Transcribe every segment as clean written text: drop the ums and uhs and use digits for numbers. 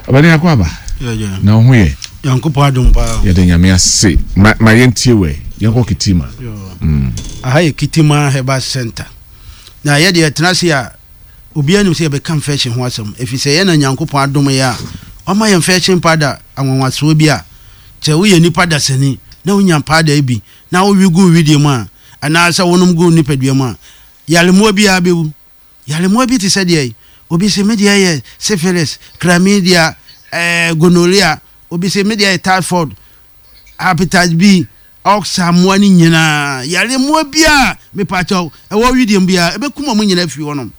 Ɔbɛne akɔ aba. Na wo ho yɛ? Nyankopɔn adom paa. Yɛda Nyame ase. Ma ma yɛntie wɛ. Yɛnkɔ Kitima. Mm. Aha yɛ Kitima Herbal Center. Na yɛ deɛ yɛtena ase a obiara nim sɛ yɛbɛka infection ho asɛm. Ɛfiri sɛ yɛn na Nyankopɔn adom yɛ a wama yɛn infection powder anwanwasoɔ bi a sɛ woyɛ nipa dasani na wonya powder yi bi na wowe gu wo wedeɛ mu a anaasɛ wonom gu wo nipadua mu a yaremmoa biara bɛwu. Yaremmoa bi te sɛ deɛ obi se me deɛ yɛ syphilis, chlamydia, eh, gonorrhea, obi se me deɛ yɛ typhoid, hepatitis B, ulcer mmoa no nyinaa. Yaremmoa biara mepaakyɛw ɛwɔ wedeɛ mu biara ɛbɛkum wɔn nyinaa afiri hɔnom.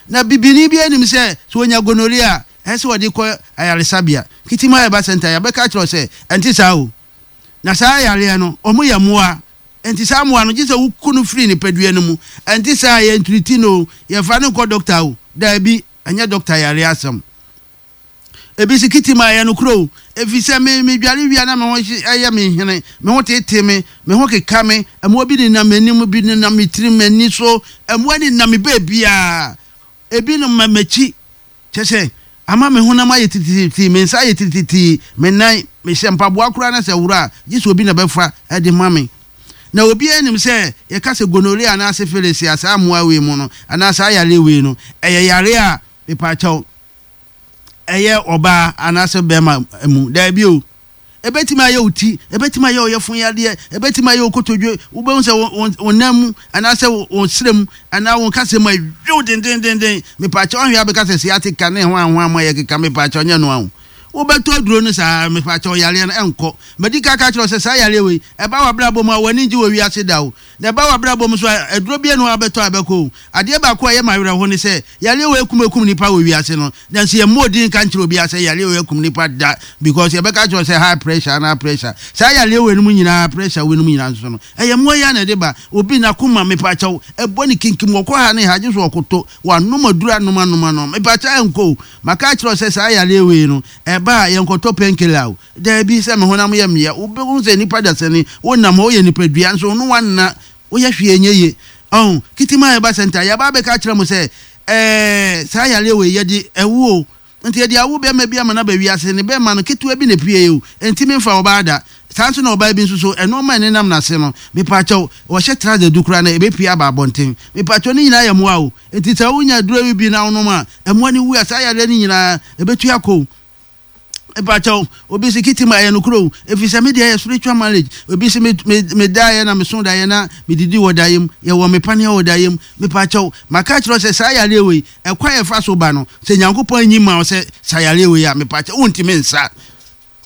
Na bibini biara nim sɛ sɛ ɔnya gonorrhea a ɛsɛ sɛ ɔde kɔ ayaresabea. Kitima Herbal Center yɛabɛka akyerɛ wo sɛ ɛnte saa o. Na saa yareɛ no wɔn yɛ mmoa. Enti saa mmoa no, gye sɛ woku no firi nipadua no mu. Ɛnte saa a, yɛntriti no o, yɛmfa no nkɔ dɔkta o. Daabi, ɛnyɛ dɔkta yareɛ asɛm. Ebi se kiti ma ɛyɛ nokorɛ o, ɛfiri sɛ me, medware wie a na me ho yɛ me hene, me ho tete me, me ho keka me, mmoa bi nenam m'anim, bi nenam me tirim, m'ani so, mmoa nenam me baabiara. Ebi nom m'akyi, Kyerɛ sɛ, ama me honam ayɛ titiritii, me nsa ayɛ titiritii, me nan, mehyɛ mpaboa koraa na sɛ ɛworo a, gye sɛ obi na bɛfa de ma me. Na obiara nim sɛ yɛka sɛ gonorrhea anaa syphilis a, saa mmoa wei mu no, anaa saa yareɛ wei no, ɛyɛ yareɛ a, mepaakyɛw, ɛyɛ ɔbaa anaasɛ bɛrima mu. Daabi o. Ebetumi ayɛ wo ti, ebetumi ayɛ wo yafunu yadeɛ, ebetumi ayɛ wo kotodwe, wobɛhu sɛ wo, wo, wo nan mu anaasɛ wo, wo srɛ mu anaa wo nkasɛɛ mu ayow dendendenden. Mepaakyɛw ahwɛ a bɛka sɛ sciatica ne hwan hwan mu ayɛ keka, mepaakyɛw nyɛ noa o. Wobɛtɔ aduro no saa, mepaakyɛw yareɛ no ɛnkɔ. Madi kan aka akyerɛ wo sɛ saa yareɛ wei, ɛba w'abrabɔ mu a w'ani ngye wɔ wiase da o. Na ɛba w'abrabɔ mu nso a, aduro biara nni hɔ a wobɛtɔ a ɛbɛkɔ o. Adeɛ baako a ɛyɛ me awerɛho ne sɛ, yareɛ wei akum akum nnipa wɔ wiase no, nanso yɛmmɔɔ din nka nkyerɛ obiara sɛ yareɛ wei akum nnipa da because yɛbɛka akyerɛ wo sɛ high pressure anaa pressure. Saa yareɛ wei nom nyinaa, pressure wei nom nyinaa nso no, ɛyɛ mmoa yi ara na ɛde ba. Obi n'akoma, mepaakyɛw, ɛbɔ ne kinkim, ɔkɔ ha ne ha, gye sɛ ɔkoto, wanom aduro anom anom anom, mepaakyɛw ɛnkɔ o. Maka akyerɛ wo sɛ saa yareɛ wei no, ɛba a yɛnkɔtɔ painkiller o. Dabi, sɛ me honam yɛ me ya. Wobɛhu sɛ nnipa dasani, wonam hɔ, woyɛ nipadua, nso wo ne wanna, woyɛ hwee ɛnyɛ yie. Ɔho, Kitima Herbal Center, yɛaba abɛka akyerɛ mo sɛ, ɛɛ, saa yareɛ wei, yɛde awu o. Nti yɛde awo bɛrima bi ama no aba wiase, ne bɛrima no, ketewa bi na ɛpueeɛ o, ɛnti memfa ɔbaa da. Saa nso na ɔbaa bi nso so, nnoɔma a ɛnenam n'ase no, mepaakyɛw, ɔhyɛ trouser du koraa no, ɛbɛpue aba abɔnten. Mepaakyɛw, ne nyinaa yɛ mmoa o. Nti sɛ wonya aduro yi bi na wonom a, mmoa no wu a, saa yareɛ no nyinaa, ɛbɛtu akɔ o. Mepakyɛw, obi se kiti ma ɛyɛ nokorɛ o, efisɛ me deɛ ɛyɛ spiritual marriage. Obi se me me me daeɛ na meso daeɛ na medidi wɔ daeɛ mu, yɛwɔ me paneɛ wɔ daeɛ mu. Mepakyɛw, maka akyerɛ wo sɛ saa yareɛ wei, ɛkwan a ɛfa so ba no, sɛ Nyankopɔn anyi mma wo sɛ sa yareɛ wei a, mepakyɛw, wontumi nsa.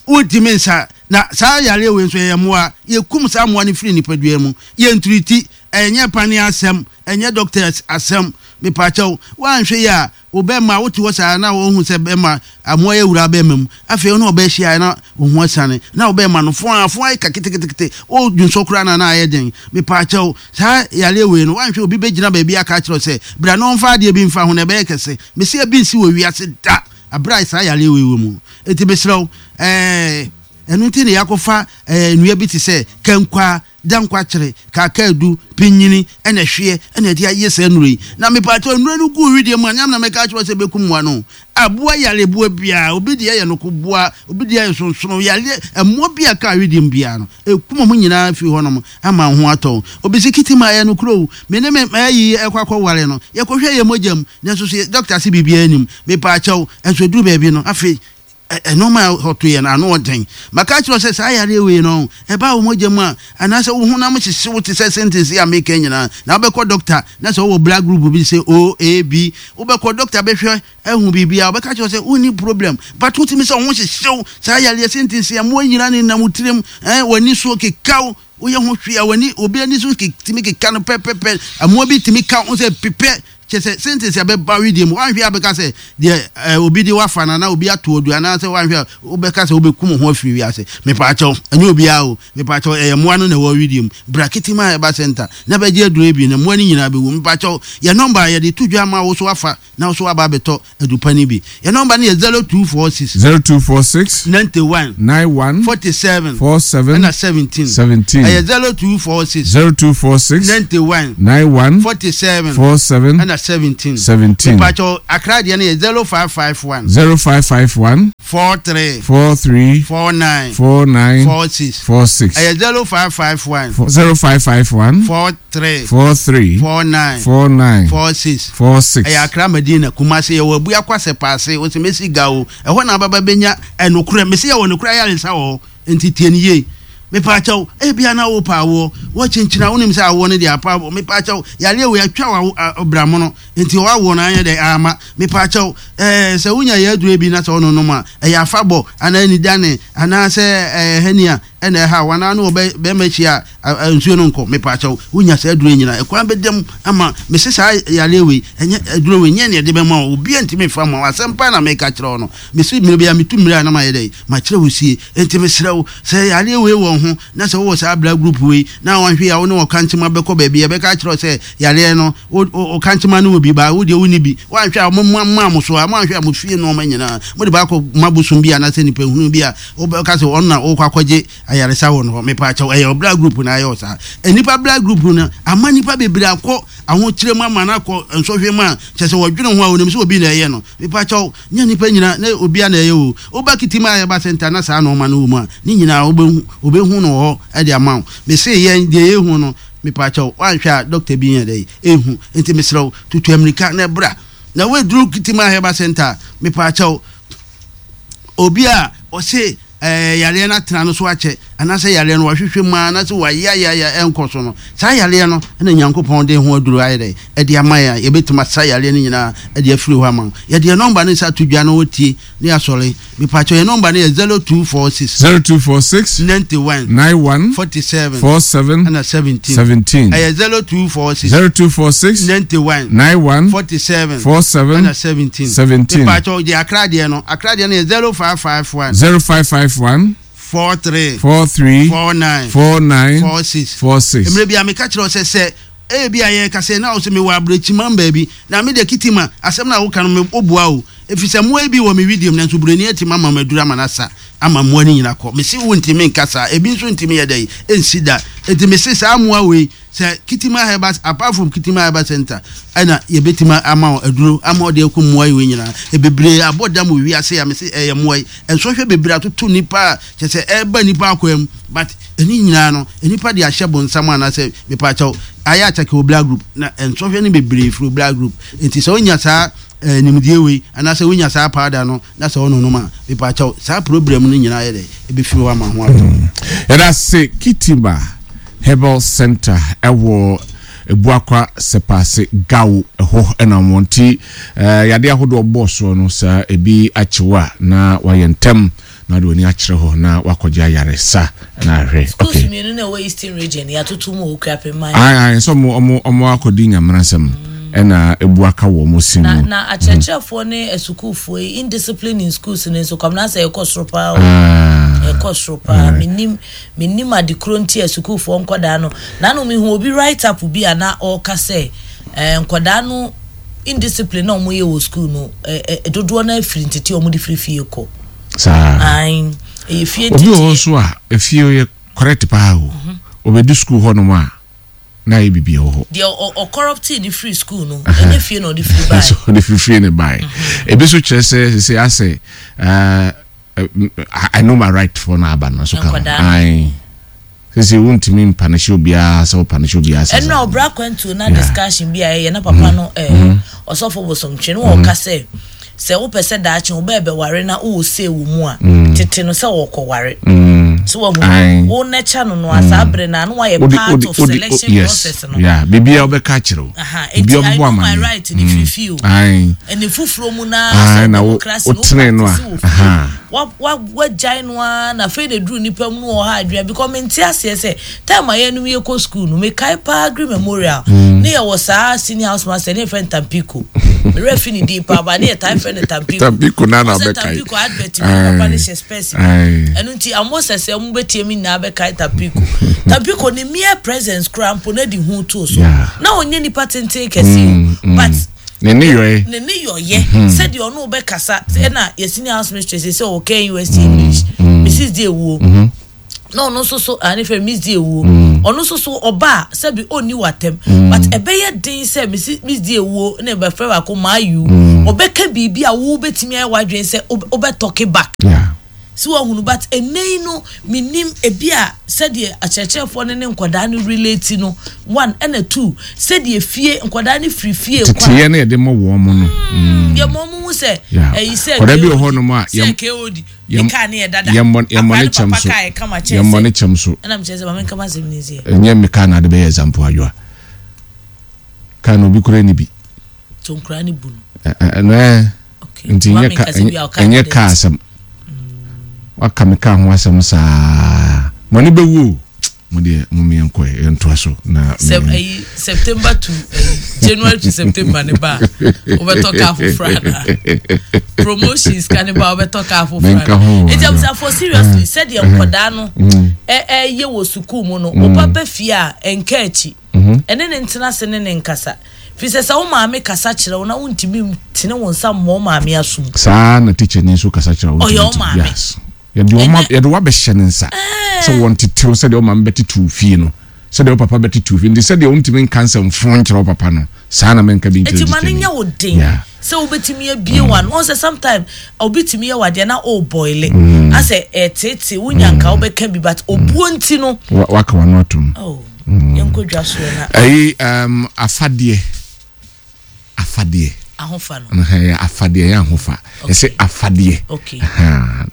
Wontumi nsa. Na saa yareɛ wei nso ɛyɛ mmoa. Yɛkum saa mmoa no firi nipadua mu. Yɛntriti. Ɛnyɛ paneɛ asɛm, ɛnyɛ doctors asɛm. Mepakyɛw, woanhwɛ yie a, Wo bɛma, wote hɔ saa na wohu sɛ bɛma amoa yɛ wura bɛma mu. Afei wo ne ɔbaa hyia na wo ho asiane. Na wo bɛma no fo a fo ayɛ ka ketekete. Wo dwonsɔ koraa na na ayɛ den. Mepaakyɛw, saa yareɛ wei no, woanhwɛ obi bɛgyina baabi aka akyerɛ wo sɛ bra na ɔmfa adeɛ bi mfa ho na ɛbɛyɛ kɛse. Mese ebi nsi wɔ wiase da aberɛ a saa yareɛ wei wɔ mu. Enti mesrɛ wo, ɛɛ, ɛno nti na yɛakɔfa ɛɛ nnua bi te sɛ kankwaa, da nkwakyere, kaakaadu, pinyini, ɛna ɛhweɛ ɛna ɛde ayɛ saa nnuro yi. Na mepaakyɛw nnuro no gu wedeɛ mu a, nyame na mɛka akyerɛ wo sɛ ɛbɛkum mmoa no. Aboa yare boa biara, obi deɛ yɛ noko boa, obi deɛ yɛ sonsono, yareɛ, mmoa bi a ɛka wedeɛ mu biara no, ɛkum wɔn nyinaa firi hɔnom ama wo ho atɔ wo. Obi se kiti ma ɛyɛ nokorɛ o, me ne me ayi ɛkɔ akɔware no, yɛkɔhwɛ yɛn mogya mu, nanso so dɔkta se biribiara nnim. Mepaakyɛw, nso ɛduru baabi no, afei Nnoɔma a ɔto yɛ no, ano ɔden. Maka akyerɛ wo sɛ saa yareɛ wei no, ɛba wo mogya mu a, anaasɛ wo honam hyehye wo te sɛ sentence yi a meka yi nyinaa, na wobɛkɔ dɔkta, na sɛ wowɔ blood group bi sɛ O, A, B, wobɛkɔ dɔkta bɛhwɛ ahu biribiara, ɔbɛka akyerɛ wo sɛ wonni problem, but wotumi sɛ wo ho hyehye wo, saa yareɛ sentence yi, mmoa nyinaa nenam wo tirim, eh, w'ani so keka wo, woyɛ ho hwee a w'ani, obi ani so tumi keka no pɛpɛpɛ, mmoa bi tumi ka wo sɛ pepɛ, Kyerɛ sɛ, sentence a ɛbɛba wedeɛ mu, woanhwɛ a bɛka sɛ deɛ eh, obi de wafa no anaa obi ato adu anaasɛ woanhwɛ a wobɛka sɛ wobɛkum wo ho afiri wiase. Mepaakyɛw, ɛnyɛ obiara o. Mepaakyɛw, ɛyɛ mmoa no na ɛwɔ wedeɛ mu. Bra Kitima Herbal Center na bɛgye aduro yi bi na mmoa no nyinaa bɛwu. Mepaakyɛw, yɛn nɔmba a yɛde to dwa ama wo so afa na wo so aba abɛtɔ adu pa no bi. Yɛn nɔmba no yɛ 0246. 0246. 91. 91. 47. 47. Ɛna 17. 17. Ɛyɛ 0246. 0246. 91. 91. 47. 47. Ɛna. Ɛna 17. 17. Mepakyɛw, Accra deɛ no yɛ 0551. 0551. 43. 43. 49. 49. 46. 46. Ɛyɛ 0551. 0551. 43. 43. 49. 49. 46. 46. Ɛyɛ Accra Madina, Kumasi, yɛwɔ Abuakwa Sɛpaase, wose mesi Gao, ɛhɔ na ababa bɛnya ɛnokorɛ, mese yɛwɔ nokorɛ ayaresa wɔ hɔ. Enti tie no yie. Mepaakyɛw, ebia na wopɛ awoɔ, woakyinkyini a wonim sɛ awoɔ no deɛ apa, mepaakyɛw, yareɛ wei atwa wo bramono, enti w'awoɔ no anyɛ dɛ amma, mepaakyɛw, ɛɛ sɛ wonya yɛ aduro bi na sɛ wononom a, ɛyɛ afabɔ anaa anidane anaa sɛ ɛɛ hernia ɛna ɛha wo anaa ne wɔ bɛrima hyia a nsuo no nkɔ, mepaakyɛw, wonya saa aduro yi nyinaa, ɛkwan bɛda mu ama, mese saa yareɛ wei, ɛnyɛ aduro wei nyɛ nea ɛde bɛma wo, obiara ntumi mfa mma wo, asɛm paa na meka kyerɛ wo no. Mese mmerɛ biara metu mmerɛ a na mayɛ dɛn? Makyerɛ wo sie. Enti mesrɛ wo, sɛ yareɛ wei wɔ wo ho na sɛ wowɔ saa bra group wei na wanhwɛ yie a wo ne ɔkankyema bɛkɔ baabi a yɛbɛka akyerɛ wo sɛ yareɛ no wo ɔkankyema no wɔ bi baa wo deɛ wonni bi. Woanhwɛ a wɔn maa mo so a moanhwɛ a mo fie nnoɔma nyinaa mode baakɔ ma bosom bi anaasɛ nipa hunu bi a wobɛka sɛ ɔno na wokɔ akɔgye ayaresa wɔ no hɔ. Mepaakyɛw ɛyɛ ɔbra group na ayɛ wo saa. Nnipa bra group no ama nnipa bebree akɔ ahokyerɛ mu ama no akɔ nsɔhwɛ mu a kyerɛ sɛ wɔdwene ho a wɔnim sɛ obi na ɛyɛ no. Mepaakyɛw Nyɛ nnipa nyina na obia na ɛyɛ o. Woba Kitima a yɛba center na saa nnoɔma no wɔ mu a, ne nyinaa wobɛhu, wɔbɛhu no wɔ hɔ de ama wo. Mese yɛn deɛ yɛhu no, mepaakyɛw, woanhwɛ a doctor bi nyɛ dɛn ɛnhu. Nti mesrɛ wo, tutu ammirika na bra. Na woaduru Kitima Herbal Center a, mepaakyɛw, obi a ɔse ɛɛ yareɛ no atena no so akyɛ, anaasɛ yareɛ no wahwehwɛ mu ara anaasɛ wayeayea ɛnkɔ so no, saa yareɛ no na Nyankopɔn de ho aduro ayɛ dɛ ɛde ama yɛn a yɛbɛtumi asa yareɛ no nyinaa de afiri hɔ ama wo. Yɛde yɛn nɔmba no nsa ato dwa na wɔtie ne yɛasɔre. Mepakyɛw yɛn nɔmba no yɛ 0246. 0246. 91. 91. 47. 47. Ɛna 17. 17. Ɛyɛ 0246. 0246. 91. 91. 47. 47. Ɛna 17. 17. Mepakyɛw gye Accra deɛ no. Accra deɛ no yɛ 0551. 0551. 43. 43. 49. 49. 46. 46. Mmerɛ bi a meka kyerɛ wo sɛ sɛ ebia yɛreka sɛ na wo sɛ mewɔ abirekyimam baabi na me deɛ Kitima asɛm no a woka no me woboa o ɛfiri sɛ mmoa yi bi wɔ me widiem nanso buroni atumi ama maduru ama no asa ama mmoa no nyina kɔ mese wontumi nka saa ebi nso ntumi yɛ dɛn ɛnsi da enti mese saa mmoa wei Sɛ Kitima Herbal apart from Kitima Herbal Center ɛna yɛbɛtumi ama wo aduro ama ɔde aku mmoa yi wei nyinaa. Bebree abɔ dam wɔ wiase a mese ɛyɛ mmoa yi. Nsɔhwɛ bebree atoto nipa a kyerɛ sɛ ɛreba nipa akwaa mu but ɛne nyinaa no nipa de ahyɛ bonsam anaasɛ mepaakyɛw ayɛ akyɛke wɔ blood group na nsɔhwɛ no bebree firi blood group nti sɛ wonya saa eh, nimdeɛ wei anaasɛ wonya saa powder no na sɛ wononom a mepaakyɛw saa problem no nyinaa yɛ dɛ ɛbɛfiri hɔ ama ho atɔ. Yɛda ase Kitima Herbal Center ɛwɔ Ebuakwa Sɛpaase Gao ɛhɔ ɛna wɔn nti ɛɛ yadeɛ ahodoɔ bɔɔ soɔ no saa ebi akyew a na wayɛ ntɛm na ɔde w'ani akyerɛ hɔ na wakɔgye ayaresa na ahwɛ. Schools mmienu na ɛwɔ Eastern Region yɛatoto mu wɔ Okuapemman. Ae ae sɛ ɔmo ɔmo ɔmo akɔdi Nyamena nsɛm ɛna ebu aka wɔ ɔmo sin Na mu. na akyerɛkyerɛfoɔ ne asukuufoɔ yi indiscipline in schools no nso Kwamina sɛ ɛkɔ soro paa o. Ah. Ɛkɔ soro paa. Menim menim ade koro nti a sukuufoɔ nkɔdaa no. Nano mehu obi write up bi a na ɔreka sɛ eh, nkɔdaa no indiscipline na wɔyɛ wɔ school no eh, eh, dodoɔ no afiri ntete a wɔde firi fie kɔ. Saa. Ae, ɛyɛ fie Obi wɔ hɔ nteteɛ. nso a efie yɛ correct paa o. Obedu school hɔ nom a na ayɛ biribi wɔ hɔ. Deɛ ɔ ɔ corruptee no firi school no, ɛnyɛ fie na ɔde firi bae. So ɔde firi fie na ɛbae. Ebi nso kyerɛ sɛ sese asɛ ɛɛ I know my right foɔ no aba no nso ka ho. Nkwadaa no. Ae. Sese wontumi mpanishe obiara sɛ wopanishe obiara sɛ. Ɛnna ɔbra kwantuo na discussion bi a yɛyɛ na papa no ɛɛ ɔsɔfo bosomtwe no ɔka sɛ Sɛ wopɛ sɛ daakye wo ba rebɛware na wowɔ say wɔ mu a, tete no sɛ ɔrekɔware. So wahu? Wo nurture no no a, saa bere no a na wayɛ part of selection process no. Yeah, biribiara wobɛka akyerɛ wo. Aha, enti I know my right no firi fie o. Ɛne foforɔ mu no ara sɛ democracy no wo practice wɔ fie. Wa wa wagyae no ara na afei na eduru nipa mu no wɔ ha adwene because mente aseɛ sɛ Time a yɛnom yɛkɔ school no, mekae paa Aggrey Memorial, ne yɛwɔ saa senior house master, ne yɛfrɛ no Tampico. Me werɛ fi ne din paa, but ne yɛtaa frɛ no Tampico. Tampico na na Ɔsɛ bɛkae. Tampico advert bi, ne papa no hyɛ spɛs bi. Ɛno nti, amo sɛ sɛ ɔmo bɛtie me nyinaa bɛkae Tampico. Tampico ne mere presence koraa mpo na de hu too so. Na ɔnyɛ nipa tenten kɛse o, but Ne nneyɔe. Ne nneyɔeɛ, sɛdeɛ ɔne wo bɛkasa, ɛna yɛ senior house mistress sɛ ɔwɔ KNUST English, Mrs. Diewuo. na ɔno nso so ah ne fɛ miss di ewuo mm. Ɔno nso so ɔba a sɛbi ɔnni w'atɛm but ɛbɛyɛ den sɛ mesi medi ewuo na ɛbɛfrɛ baako maa you ɔbɛka biribi a wo bɛtumi ayɛ w'adwene sɛ wobɛ talk back. Yeah. So wahunu but ɛnɛ yi no menim ebi a sɛdeɛ akyerɛkyerɛfoɔ no ne nkwadaa no relate no one ɛna two sɛdeɛ fie nkwadaa no firi fie kɔ a. Teteyɛ no yɛde ma wɔn mo no. Mm, yɛ ma wɔn hu sɛ ɛyi sɛ Nkwadaa bi wɔ hɔ nom a sɛ KOD ne kaa ne yɛ dada. Yɛmmɔ yɛmmɔ ne kyɛm so. Yɛmmɔ ne kyɛm so. Ɛna mekyerɛ sɛ maame nka m'asɛm ne nsiɛ. Ɛnyɛ me kaa na ade bɛyɛ example adwoa. Kaa na obi kura ni bi. To nkura ne bu no. Ɛno ɛ. Nti ɛnyɛ kaa asɛm. Waka me kaa ho asɛm saa. Mo ani bɛwu o. Mo deɛ mo mi yɛn kɔ yɛn ntoa so na. Sɛ ɛyi September to ɛyi January to September ne ba wobɛtɔ kaa foforɔ ana promotions ka ne ba wobɛtɔ kaa foforɔ ana. Nti abusuafoɔ seriously sɛdeɛ nkɔdaa no ɛɛyɛ wɔ sukuu mu no wo ba bɛ fie a ɛnka akyi. Ɛne no ntena ase ne no nkasa. Firi sɛ sɛ wo maame kasa kyerɛ wo na wontumi ntene wo nsa mmɔ wo maame asom. Saa ara na tikyani nso kasa kyerɛ wo Ɔyɛ ntumi wo nte. maame. Yes. Yɛde wo ma Ɛnɛ. yɛde wo abɛhyɛ ne nsa sɛ Ɛɛ. wɔntete wo sɛdeɛ wo maame bɛtete wo fie no, sɛdeɛ wo papa bɛtete wo fie. Nti sɛdeɛ wontumi nka nsɛmfoo nkyerɛ wo papa no, saa ara na menka bi nkyerɛ Enti ma no tikyani. nyɛ wo den Yeah. sɛ wobɛtumi abue w'ano. Woahu sɛ sometime obi tumi yɛ wo adeɛ na o boile. Asɛ ɛɛteetee, wonya nka wobɛka bi but obuo nti no. Wa waka w'ano atom. Oh. Yɛnkɔ dwa soɔ na. Ɛyi um, afadeɛ afadeɛ. Ahofa no. Ɛyɛ afadeɛ ɛyɛ ahofa. Ɛsɛ afadeɛ. Okay.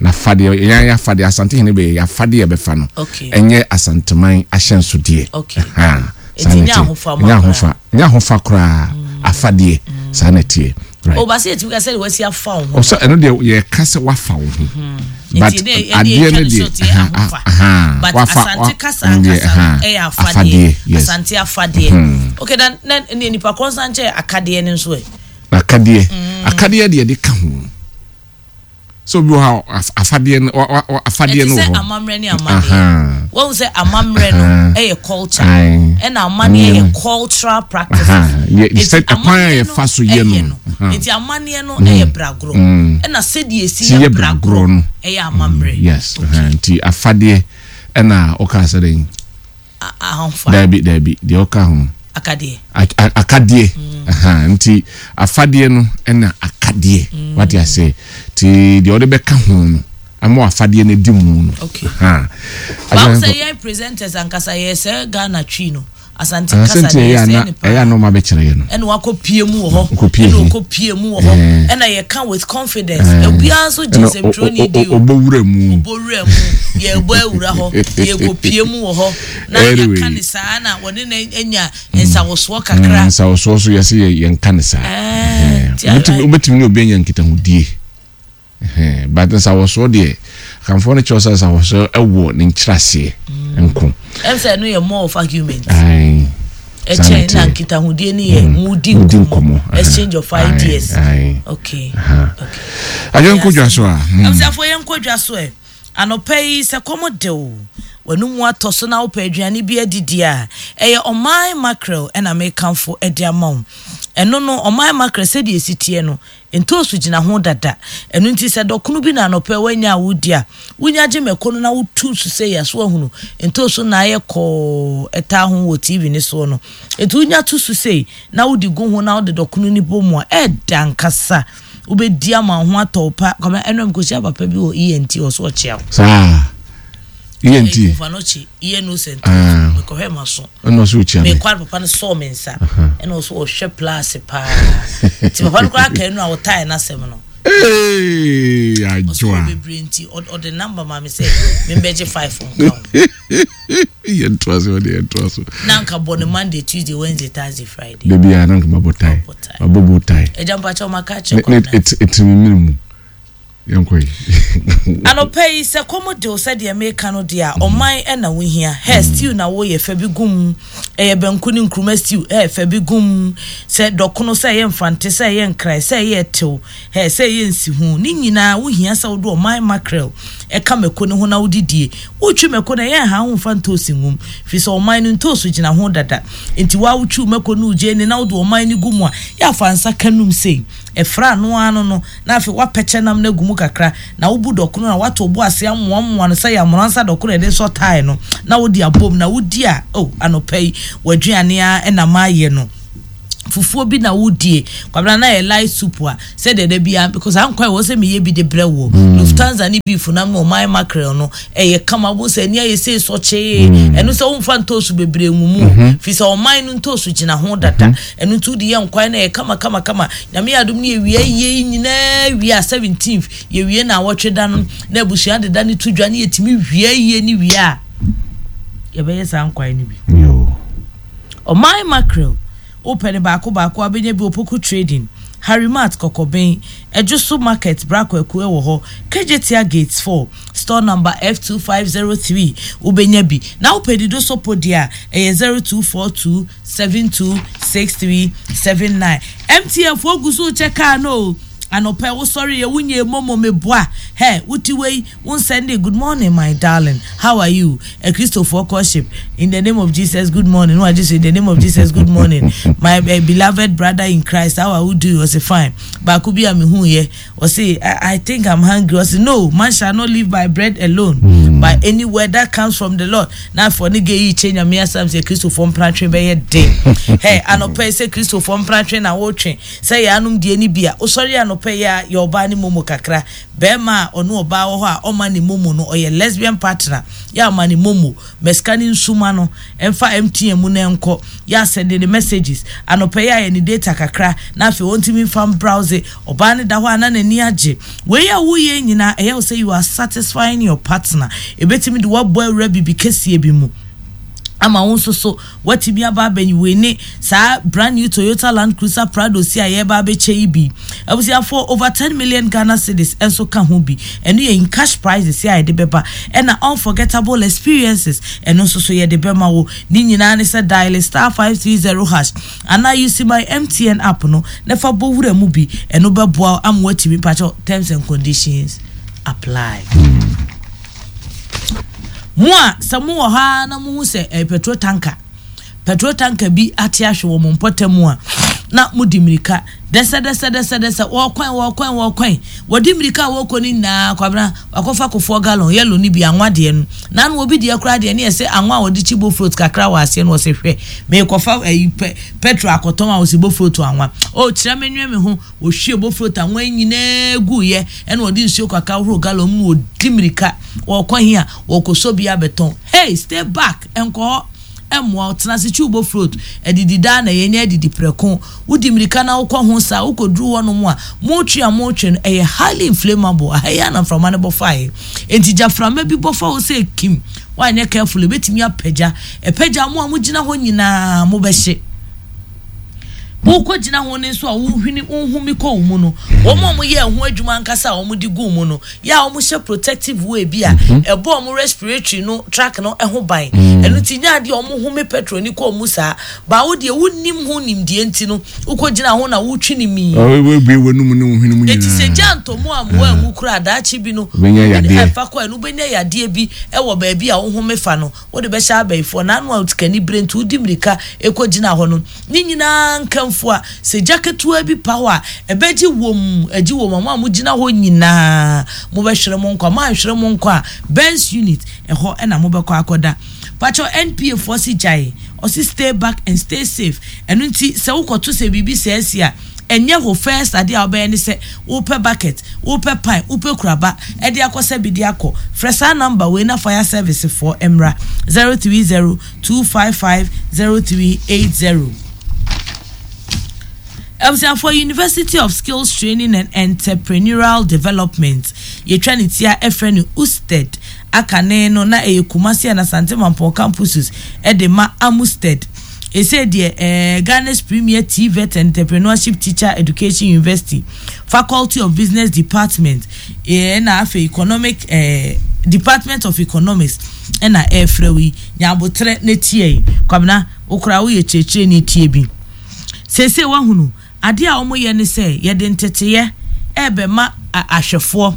Na afadeɛ yɛn ayɛ afadeɛ Asante hene bɛyɛ yɛ afadeɛ ɛbɛfa no. Okay. Ɛnyɛ Asanteman ahyɛnsodeɛ. Okay. Saa na ɛteɛ. Ɛnyɛ ahofa ɛnyɛ ahofa koraa afadeɛ saa na ɛteɛ. Right. O ba sɛ yɛtumi ka sɛ wasi afa wo ho. Ɔsɛ ɛno deɛ yɛka sɛ wafa wo ho. Hmm. But adeɛ no deɛ but asante kasa ankasa no ɛyɛ afadeɛ. Asante afadeɛ. Hmm. Okay na na ne nipa korɔ nsa nkyɛn akadeɛ no nso ɛ. Akadeɛ. Hmm. Akadeɛ deɛ de ka ho. Sɛ obi wɔ hɔ a afadeɛ no afadeɛ no wɔ hɔ. Ɛte sɛ amammerɛ ne amanneɛ. Wahu sɛ amammerɛ no ɛyɛ culture ɛna amanneɛ yɛ cultural practices. Nti amanneɛ no ɛyɛ no. Nti amanneɛ no ɛyɛ bragorɔ ɛna sɛdeɛ esi yɛ bragorɔ no ɛyɛ amammerɛ. Yes. Nti afadeɛ ɛna ɔka sɛ dɛn. Ahomfa. Daabi, daabi, deɛ ɔka ho. Akadeɛ. Akadeɛ. Mm. Nti afadeɛ no ɛna akadeɛ. Mm. Wate aseɛ. Nti deɛ ɔde bɛka ho no, ama afadeɛ no adi mu no. Okay. Báwo sɛ yɛn presenters ankasa yɛ sɛ Ghana twi no. Asante kasa deɛ yɛsɛe no paa. Ɛyɛ a na ɔma bɛkyerɛ yɛ no. Ɛna wakɔ pie mu wɔ hɔ. Ɛna ɔkɔ pie mu wɔ hɔ. Ɛna yɛka with confidence. Obiara nso gye nsɛmtwerɛni di o. Ɔbɔ wura mu. Ɔbɔ wura mu. Yɛbɔ awura hɔ. Yɛkɔ pie mu wɔ hɔ. Na yɛka ne saa na wɔne no anya nsawosoɔ kakra. Nsawosoɔ so yɛse yɛnka ne saa. Wobɛtumi ne obi anya nkitahodie. But nsawɔsoɔ deɛ, Akanfoɔ no kyerɛ sɛ nsawɔsoɔ wɔ ne nkyerɛaseɛ nko. Ɛm sɛ ɛno yɛ more of argument. Aye. Ɛkyɛn na nkitahodie no yɛ mudi nkɔmmɔ. Exchange of ideas. Okay. Okay. Adwo nkɔ dwa so a. Abusuafoɔ yɛn nkɔ dwa so ɛ. Anɔpa yi sɛ kɔm de wo, w'anum atɔ so na wopɛ aduane bi adidi a, ɛyɛ ɔman mackerel ɛna mekamfo de ama wo. Ɛno no ɔman mackerel sɛdeɛ ɛsi teɛ no, Ntoosu gyina ho dada. Ɛno nti sɛ dɔkono bi na anɔpa yi woanya a wodi a, wunya gye mako no na wotu so sei a, so woahunu? Ntoosu na ayɛ kɔɔ ɛtaa ho wɔ TV no soɔ no. Enti wunya to so sei na wode gu ho na wode dɔkono no bɔ mu a, ɛɛdɛ ankasa. Wobɛdi ama wo ho atɔ wo pa. Kwame, ɛnora mekɔhyia papa bi wɔ ENT hɔ, so ɔkyea wo. Saa. ENT. Ɛyɛ Kumfano kyi, ENO Center. Ah. Mekɔhwɛ m'aso. Ɛna ɔsɛ ɔkyia me. Mekɔ a papa no sɔɔ me nsa. Ɛna ɔsɛ ɔhwɛ plase paa. Nti papa no koraa ka ɛnu a ɔtae n'asɛm no. Ee adwoa. Ɔsɛ bebree nti ɔde number ma me sɛ membɛgye five nka ho. Yɛn to aso ɔde yɛn to aso. Na nka bɔ ne Monday, Tuesday, Wednesday, Thursday, Friday. Dabi a na nka mabɔ tie. Mabɔ bow tie. Ɛgya mpakyɛ ɔma ka kyerɛ kɔmina. Ne etimi mene mu. Yɛnkɔ yi. Anɔpa yi, sɛ kɔm de wo sɛdeɛ meka no deɛ a, ɔman na wohia. Hɛ, stew na woyɛ, fa bi gu mu. Ɛyɛ banku ne nkruma stew, hɛ, fa bi gu mu. Sɛ dɔkono, sɛ ɛyɛ mfante, sɛ ɛyɛ nkran, sɛ ɛyɛ ɛtew, hɛ, sɛ ɛyɛ nsiho, ne nyinaa wohia sɛ wode ɔman mackerel ka mako no ho na wode die. Wotwi mako no, ɛyɛ nha wo mfa ntoosi ngu mu, firi sɛ ɔman no ntoosi gyina ho dada. Enti wo ara wotwi wo mako ne wo gyeene na wode ɔman no gu mu a, yɛ a fa nsa ka num sei. Ɛfra no ara no no, na afei woapɛkyɛ nam no agu mu kakra, na wobu dɔkono na woato wo bo ase amoamoa no sɛ yɛamoransa dɔkono a yɛde sɔ tae no, na wode abom, na wodi a, oh, anɔpa yi, w'aduane ara na mayɛ no. Fufuo bi na wodie, Kwabena, na ɛyɛ light soup a, sɛdeɛ da biara, because ankɔ a ɛwɔ sɛ meyɛ bi de brɛ woɔ. Lufthansa ne beef nam ne ɔman mackerel no, ɛyɛ kama, wobɛhu sɛ ani ayɛ sei sɔkyee, ɛno sɛ womfa ntoosu bebree ngu mu o, firi sɛ ɔman no ntoosu gyina ho dada. Ɛno nti wode yɛ nkwan no ɛyɛ kama kama kama. Nyame yɛ adom ne yɛwie ayie yi nyinaa wie a 17th yɛwie naawɔtwe da no na abusua de da no to dwa ne yɛtumi wie ayie no wie a yɛbɛyɛ saa nkwan no bi. Ɔman mackerel wopɛ no baako baako a wobɛnya bi wɔ Poku Trading, Harry Mart Kɔkɔben, Adwoso Market Bra Kwaku ɛwɔ hɔ, Kejetia Gates 4, Store number F2503 wobɛnya bi. Na wopɛ dido sopo deɛ a ɛyɛ 0242 726379 MTN foɔ gu so rekyɛ kaa no o anɔpa yi wosɔre yɛ wonyɛ momo meboa hɛ wote wei wo nsɛnde good morning my darling how are you akristofoɔ courtship in the name of Jesus good morning no agye so in the name of Jesus good morning my uh, beloved brother in Christ how are you doing ɔse fine baako bi a mehu yɛ Ɔse I think I'm hungry ɔse no man shall not live by bread alone mm. by any word that comes from the Lord na afɔ ne gay yi kyɛ nyame asɛm sɛ kristofoɔ mpratwe bɛyɛ den hɛ anɔpɛ sɛ kristofoɔ mpratwe na wotwe sɛ yɛ anom deɛ ne bi a wosɔre anɔpɛ yɛ a yɛ ɔbaa ne momo kakra bɛrima a ɔne ɔbaa wɔ hɔ a ɔma ne momo no ɔyɛ lesbian partner yɛ ama ne momo Ma sika no nsu ma no mfa MTN mu na ɛnkɔ. Yɛ a sɛnde no messages. Anɔpa yi ayɛ ne data kakra na afei ɔntumi mfa mbrowse. Ɔbaa no da hɔ a na n'ani agye. Wei a woreyɛ yi nyinaa ɛyɛ wo sɛ you are satisfying your partner. Ɛbɛtumi de wo abɔ awura biribi kɛseɛ bi mu ama wo nso so Woatumi aba abɛn wei ne saa brand new Toyota Land Cruiser Prado si a yɛreba abɛkyɛ yi bi. Abusuafoɔ, over 10 million Ghana cedis nso ka ho bi. Ɛno yɛ in cash prizes a yɛde bɛba. Ɛna unforgettable experiences, ɛno nso so yɛde bɛma wo. Ne nyinaa ne sɛ dial star 530 hash anaa use my MTN app no na fa bɔ wura mu bi. Ɛno bɛboa wo ama woatumi, mpakyɛw, terms and conditions apply. Mo a sɛ mowɔ hɔ ara na mohu sɛ ɛyɛ petrol tanker, petrol tanker bi ate ahwe wɔ mo mpɔtam a, na modi mmirika dɛsɛdɛsɛdɛsɛdɛsɛ, wɔkwan, wɔkwan, wɔkwan. Wɔde mmirika a wɔkɔ no nyinaa, Kwabena, wakɔfa kofoɔ gallon, yellow no bi, anwa deɛ no. Na ano obi deɛ koraa deɛ ne yɛ sɛ anwa a wɔde kyi bofrot kakra wɔ aseɛ no, wɔsɛ hwɛ, merekɔfa ayi pɛ, petrol akɔtɔn a wɔsɛ bofrot anwa. O, kyerɛ me nwe me ho. Ɔhwiee bofrot anwa yi nyinaa guiɛ, ɛna ɔde nsuo kakra hohoro gallon mu na ɔdi mmirika. Ɔrekɔ he a? Ɔrekɔsɔ bi abɛtɔn. Hey, stay back! Nkɔ hɔ. Ɛmmoa wo. Tena ase kyiw bofrot. Adidi daa na yɛnyɛ adidi prɛko. Wodi mmirika na wokɔ ho saa a, wokɔduru hɔnom a, moretwe a moretwe no, ɛyɛ highly inflammable. Aha yi ara na mframa no bɔ faeɛ. Enti gyaframa bi bɔ fa hɔ sɛ kim. Woanyɛ careful a, ɛbɛtumi apagya. Ɛpagya a, mo a mogyina hɔ nyinaa mobɛhye. Worekɔgyina ho no nso a wohwini wohome kɔ wo mu no, wɔn a wɔyɛɛ ho adwuma ankasa a wɔde guu mu no, yɛ a wɔhyɛ protective wear bi a mhm. ɛbɔ wɔn respiratory no track no ho ban. Mm. Ɛno nti nyɛ adeɛ a wɔhome petrol ni kɔ mu saa. Baawo deɛ wonim ho nimdeɛ nti no, wokɔgyina ho na wotwi ne mii. Wobue w'anum ne wo hwene mu nyinaa. Eti sɛ gya ntɔ mu a mmoa anwu koraa daakye bi no, ɛfa kɔ ɛno wobɛnya yadeɛ bi ɛwɔ baabi a wohome fa no. Wode bɛhyɛ abayifoɔ na ano a sikani bere nti wode mmirika kɔgyina hɔ no, ne nyinaa nkamfua. Sɛ gya ketewa bi pa hɔ a, ɛbɛgye wom, agye wom a mo a mogyina hɔ nyinaa mobɛhwere mo nkwa. Moanhwere mo nkwa a, Burns Unit, ɛhɔ na mobɛkɔ akɔda. Pakyɛw NPA foɔ se gyae, ɔse stay back and stay safe. Ɛno nti sɛ wokɔto sɛ biribi saa asi a, ɛnyɛ wo first adeɛ a wobɛyɛ ne sɛ wopɛ bucket, wopɛ pan, wopɛ kuraba de akɔ sɛ bi de akɔ. Frɛ saa number wei na fire service foɔ mmra, 030 255 0380. Abusuafoɔ, University of Skills Training and Entrepreneurial Development, yɛtwa ne tia frɛ no USTED, akane no na ɛyɛ Kumasi and Asante Mampɔn campuses de ma AMUSTED. Ɛsei deɛ eh, Ghana's premier TVET and Entrepreneurship Teacher Education University, Faculty of Business Department, eh, ɛna afei Economic eh, Department of Economics ɛna ɛrefrɛ wo yi. Nya aboterɛ na tie yi. Kwabena, wo koraa woyɛ kyerɛkyerɛni tie bi. Seesei woahunu, adeɛ a wɔyɛ ne sɛ yɛde nteteeɛ ɛrebɛma ahwɛfoɔ.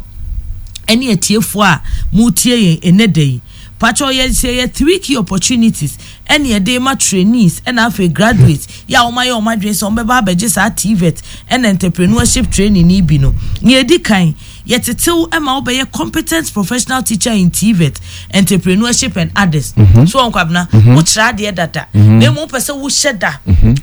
Ɛne atiefoɔ a moretie yɛn ɛnnɛ da yi. Pakyɛw yɛ sɛ yɛ 3 key opportunities ɛne yɛde rema trainees ɛna afei graduates yɛ a wɔn ayɛ wɔn adwene sɛ wɔn bɛba abɛgye saa TVET ɛna entrepreneurship training yi bi no. Nea edi kan, yɛtetew ɛma wobɛyɛ competent professional teacher in TVET, entrepreneurship and others. So wɔn kwabena, wokyerɛ adeɛ dada, na mmom wopɛ sɛ wohyɛ da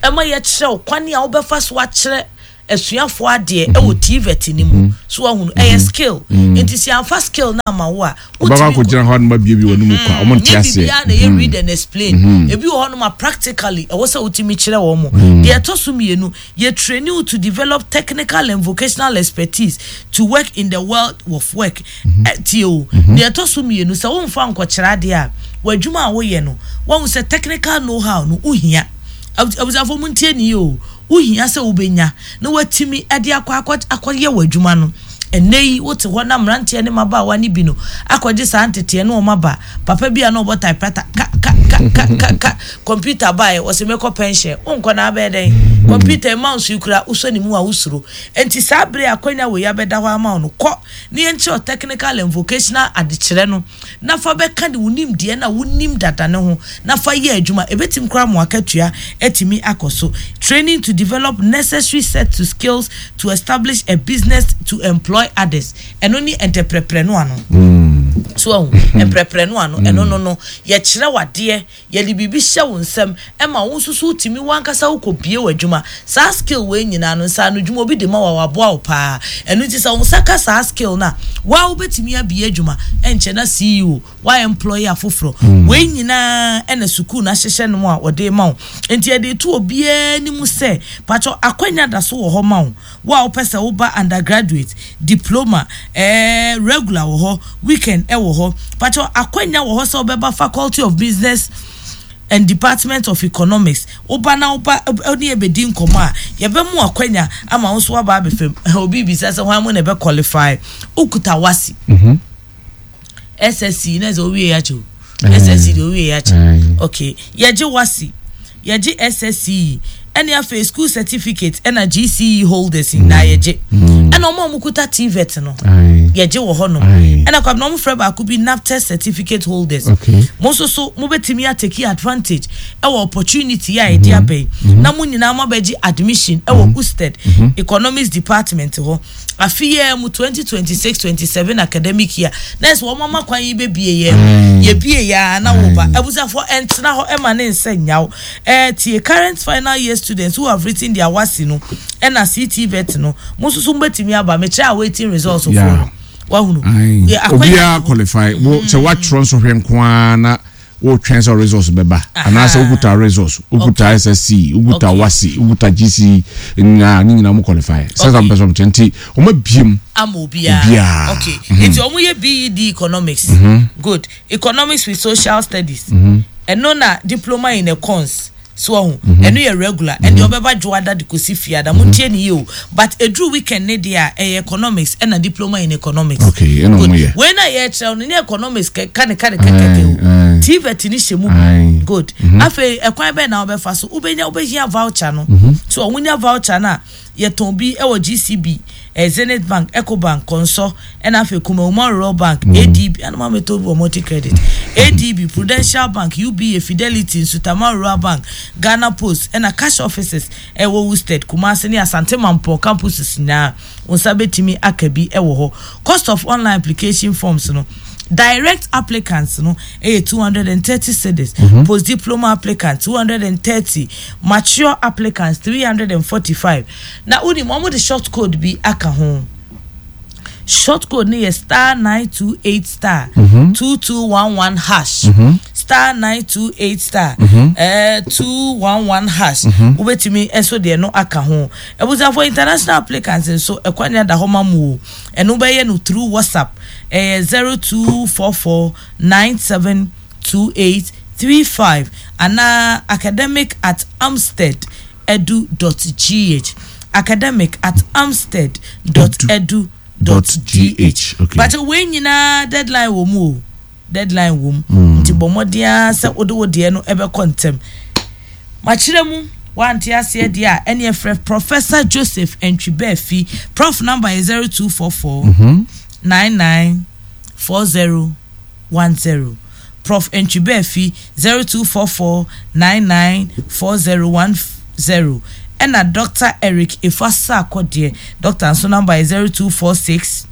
ɛma yɛkyerɛ wo kwan a wobɛfa so akyerɛ asuafoɔ adeɛ ɛwɔ TVET no mu. So wahunu, ɛyɛ skill. Nti sɛ yɛamfa skill no ama wo a, wobɛkɔ akɔgyina hɔ anoma bie bi wɔ no mu kwa, ɔmo nte nyɛ aseɛ. Biribiara na ɛyɛ read and explain. Ebi wɔ hɔnom a practically ɛwɔ sɛ wotumi kyerɛ wɔn mo. Deɛ ɛtɔ so mmienu, yɛ train you to develop technical and vocational expertise to work in the world of work. Tie o, deɛ ɛtɔ so mmienu, sɛ womfa nkɔkyerɛ adeɛ a, w'adwuma a woyɛ no, wahu sɛ technical know how no wohia. Abusuafoɔ, mu ntie ne yie o, wohia sɛ wobɛnya na watumi de akɔ akɔyɛ w'adwuma no. Ɛnɛ yi wote hɔ na mmeranteɛ ne mmabaawa no bi no akɔgye saa nteteɛ ne wɔn aba. Papa bi a na ɔbɔ typewriter ka ka ka ka ka ka, computer baeɛ, wɔsɛ mɛkɔ pension. Wonkɔ na abɛyɛ dɛn? Computer mouse yi kura wosɔ ne mu a wosuro. Nti saa bere a akwanya wei abɛda hɔ ama wo no, kɔ ne yɛnkyerɛ technical and vocational adekyerɛ no na fa bɛka de wo nimdeɛ na wonim dada ne ho na fa yɛ adwuma. Ɛbɛtumi koraa mo akatua atumi akɔ so. Training to develop necessary set to skills to establish a business to employ others. Ɛno ne entrepreneur no. So ahu entrepreneur no, ɛno no yɛkyerɛ wadeɛ, yɛde biribi hyɛ wo nsam ɛma wo nso so wotumi wankasa wokɔ bie w'adwuma. Saa skill wei nyinaa no, nsa ano dwuma obi de ma wa, waboa wo paa. Ɛno nti sɛ wo nsa ka saa skill no a, waa wobɛtumi abie adwuma, ɛnkyɛ na CEO wa employ afoforɔ. Wei nyinaa ɛna sukuu no ahyehyɛ no mu a wɔde ma wo. Nti yɛde to obiara anim sɛ patwɔ akwanya da so wɔ hɔ ma wo. Wo a wopɛ sɛ woba undergraduate diploma, regular wɔ hɔ, weekend ɛwɔ hɔ. Patwɔ akwanya wɔ hɔ sɛ wobɛba Faculty of Business and Department of Economics. Woba na woba ne yɛbɛdi nkɔmmɔ a, yɛbɛmu akwanya ama wo nso woaba abɛfam. Obi bisa sɛ hwan mu na ɛbɛ qualify? Wokuta WASSCE, SSC na sɛ wowie yɛ akyɛ o, SSC deɛ wowie yɛ akyɛ. Okay, yɛgye WASSCE, yɛgye SSC, ɛne afei school certificate ɛna GCE holders nyinaa yɛgye. Ɛna ɔmo a ɔmo kuta TVET no, yɛgye wɔ hɔnom. Ɛna kwabena, ɔmo frɛ baako bi NABTEB certificate holders. Mo nso so mobɛtumi atake advantage ɛwɔ opportunity a yɛde aba yi na mo nyinaa mo abɛgye admission ɛwɔ USTED Economics Department hɔ afi yɛ mu 2026-27 academic year. Na ɛsɛ wɔn ama kwan yi bɛbie yɛ yɛbie yɛ a na wɔba. Abusuafoɔ, ɛntena hɔ ɛma ne nsa nyaw. Tie, current final year students who have written their WASSCE no ɛna CTVET no, mo nso so mobɛtumi aba. Mekyerɛ awaiting results foɔ no, wahunu. Obiara qualify wo sɛ woatwerɛ nsɔhwɛ nko ara na wotwɛn sɛ results bɛba, anaasɛ wokuta results, wokuta SSC, wokuta WASSCE, wokuta GCE nyinaa, ne nyinaa mo qualify sɛ sɛ mpɛ sɛ ɔmkyɛ. Nti ɔma biem. Ama obiara. Okay, nti ɔmo yɛ BEd Economics, good, Economics with Social Studies, ɛno na diploma in econs so ɔho. Ɛno yɛ regular, ɛnde ɔbɛba Dwoada de kɔsi Fiada. Mo ntie ne yie o, but eduru weekend ne deɛ a, ɛyɛ Economics ɛna diploma in Economics. Okay, ɛna ɔmo yɛ. Wei na yɛkyerɛw no ne economics kɛ ka ne kɛkɛkɛ o, TVET ne hyɛ mu bi. Good. Afei ɛkwan bɛn na wobɛfa so wobɛnya? Wobɛhia voucher no. So ɔwonya voucher no a, yɛtɔn bi ɛwɔ GCB, Zenith Bank, Ecobank, Kɔnsɔ, ɛna afei Kumawu Rural Bank, ADB, ɛna maa metɔ bi wɔ Multi Credit, ADB, Prudential Bank, UBA, Fidelity, Nsutama Rural Bank, Ghana Post, ɛna cash offices ɛwɔ Worcester, Kumasi ne Asante Mampɔ campuses nyinaa, wɔn nsa bɛtumi aka bi ɛwɔ hɔ. Cost of online application forms no, direct applicants no ɛyɛ 230 cedis, post diploma applicant 230, mature applicants 345. Na wonim wɔn de short code bi aka ho. Short code no yɛ *928*2211#, *928*211#. Wobɛtumi nso deɛ no aka ho. Abusuafo, international applicants nso, ɛkwan da hɔ ma mu o. Ɛno bɛyɛ no through WhatsApp, ɛyɛ 0244972835 anaa academic@umsted.edu.gh, academic@umsted.edu.gh. But wei nyinaa deadline wɔ mu o, deadline wɔ mu. Nti bɔ mmɔden ara sɛ wode wo deɛ no ɛbɛkɔ ntɛm. Makyerɛ mu, wante aseɛ deɛ a, ɛne ɛfrɛ Professor Joseph Ntwibɛɛfi. Prof number yɛ 0244 99. 4010. Prof Antwi Baafi, 0244 99 4010. Ɛna Dɔkta Eric Efua Sarkor deɛ, dɔkta nso number yɛ 0246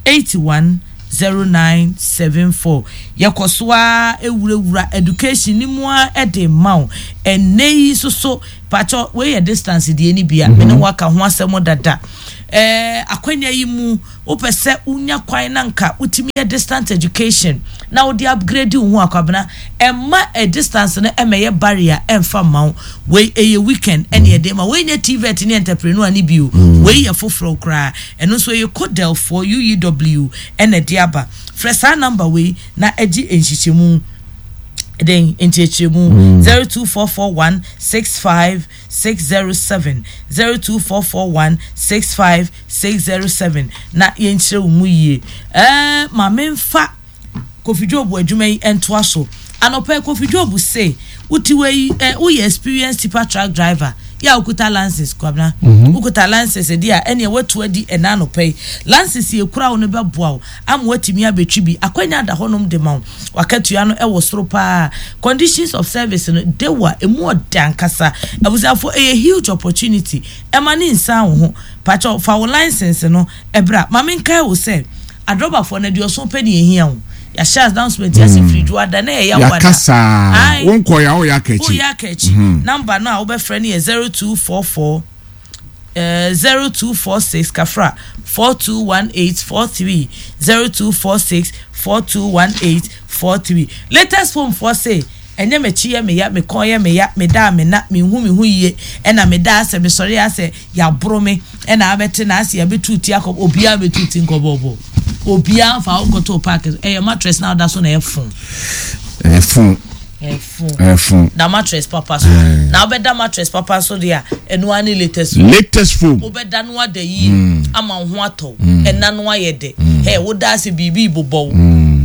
81 0974. Yɛkɔ so ara wurawura education no mu ara de ma wo. Ɛnnɛ yi nso so, pakyɛ wei yɛ distance deɛ no bi a, me ne wo aka ho asɛm dada. Ɛɛ akwanya yi mu, wopɛ sɛ wonya kwan na nka wotumi yɛ distance education na wode upgrade wo ho a, Kwabena, ɛmma ɛ distance no ɛmmɛyɛ barrier ɛmfa mma wo. Wei ɛyɛ weekend ɛne ɛde ma. Wei nyɛ TVET ne entrepreneur no bi o. Wei yɛ foforɔ koraa. Ɛno nso ɛyɛ Codel foɔ, UEW, ɛna ɛde aba. Frɛ saa number wei na ɛgye nhyehyɛmu, den, nkyerɛkyerɛmu, 02441 65 607, 02441 65 607 na yɛnkyerɛ wo mu yie. Ɛɛ ma memfa Kofi Job adwuma yi ntoa so. Anɔpa yi Kofi Job se wote wei yi ɛ woyɛ experienced tipper truck driver yɛ a wokuta license Kwabena wokuta license deɛ a ɛneɛ woatu adi ɛna anɔpa yi license yɛ kura wo no bɛboa wo ama woatumi abɛtwi bi akwanya da hɔnom de ma wo wakatua no ɛwɔ soro paa conditions of service no dewa emu ɔdɛ ankasa abusuafo ɛyɛ huge opportunity ɛma ne nsan wo ho pakyɛw fa wo license no bra. Ma menkae wo sɛ, adrɔbafoɔ no, aduɔson pɛ ne yɛhia o. Yɛahyɛ announcement yi ase firi Dwoada na ɛyɛ Yawoada. Yɛaka saa. Ae. Wonkɔeɛ a, woyɛ aka akyi. Woyɛ aka akyi. Number no a wobɛfrɛ no yɛ 0244 eh, 0246 kafra 421843 0246 421843. Latest phone foɔ se, Ɛnyɛ m'akyi yɛ me ya, me kɔn yɛ me ya, me da a me nna, menhu me ho yie, ɛna me da asɛ mesɔre asɛ yɛaboro me, ɛna abɛte na asɛ yɛabɛtu ti akɔ, obiara mmɛtu ti nkɔbɔbɔ, obiara mfa wo nkɔto park so, ɛyɛ mattress na woda so na ɛyɛ fon. Ɛyɛ fon. Ɛyɛ fon. Ɛyɛ fon. Da mattress papa so. Na wobɛda mattress papa so deɛ a, ɛno ara ne latest foam. Latest foam. Wobɛda no ada yie ama wo ho atɔ wo. Ɛna no ayɛ dɛ. Hɛ, woda asɛ biribi rebobɔ wo.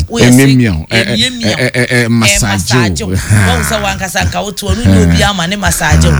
Woyɛ sɛ Ɛmiamia wo. Ɛmiamia wo. Ɛ massage wo. Ɛmassage wo. Wahu sɛ w'ankasa nka wote hɔ no nyɛ obiara ma ne massage wo.